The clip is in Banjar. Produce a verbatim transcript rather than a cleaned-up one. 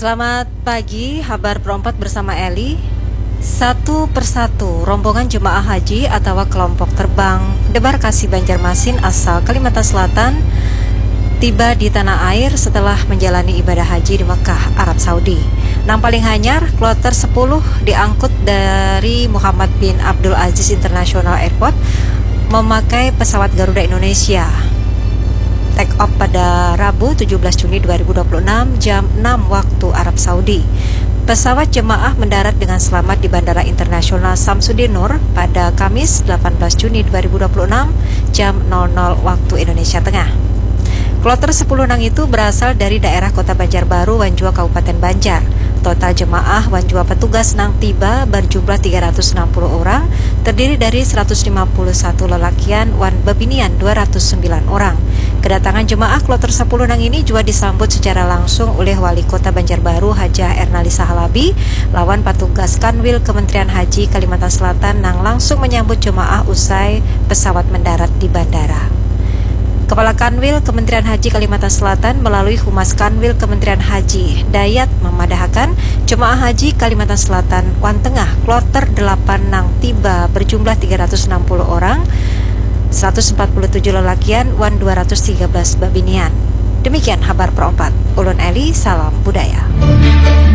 Selamat pagi, Habar Perompat bersama Eli. Satu persatu, rombongan jemaah haji atawa kelompok terbang debarkasi Banjarmasin asal Kalimantan Selatan tiba di tanah air setelah menjalani ibadah haji di Mekah, Arab Saudi. Nang paling hanyar, kloter sepuluh diangkut dari Muhammad bin Abdul Aziz International Airport memakai pesawat Garuda Indonesia. Take off pada Rabu tujuh belas Juni dua ribu dua puluh enam jam enam waktu Arab Saudi. Pesawat jemaah mendarat dengan selamat di Bandara Internasional Samsudinur pada Kamis delapan belas Juni dua ribu dua puluh enam jam nol nol waktu Indonesia Tengah. Kloter sepuluh nang itu berasal dari daerah Kota Banjarbaru wan jua Kabupaten Banjar. Total jemaah wan jua petugas nang tiba berjumlah tiga ratus enam puluh orang, terdiri dari seratus lima puluh satu lelakian wan bebinian dua ratus sembilan orang. Kedatangan jemaah kloter sepuluh nang ini jua disambut secara langsung oleh Wali Kota Banjarbaru Hajah Ernalisa Halabi lawan patugas Kanwil Kementerian Haji Kalimantan Selatan nang langsung menyambut jemaah usai pesawat mendarat di bandara. Kepala Kanwil Kementerian Haji Kalimantan Selatan melalui Humas Kanwil Kementerian Haji Dayat memadahakan jemaah haji Kalimantan Selatan wan Tengah kloter delapan nang tiba berjumlah tiga ratus enam puluh orang, seratus empat puluh tujuh lelakian wan dua ratus tiga belas babinian. Demikian Habar Perompat. Ulun Eli, salam budaya.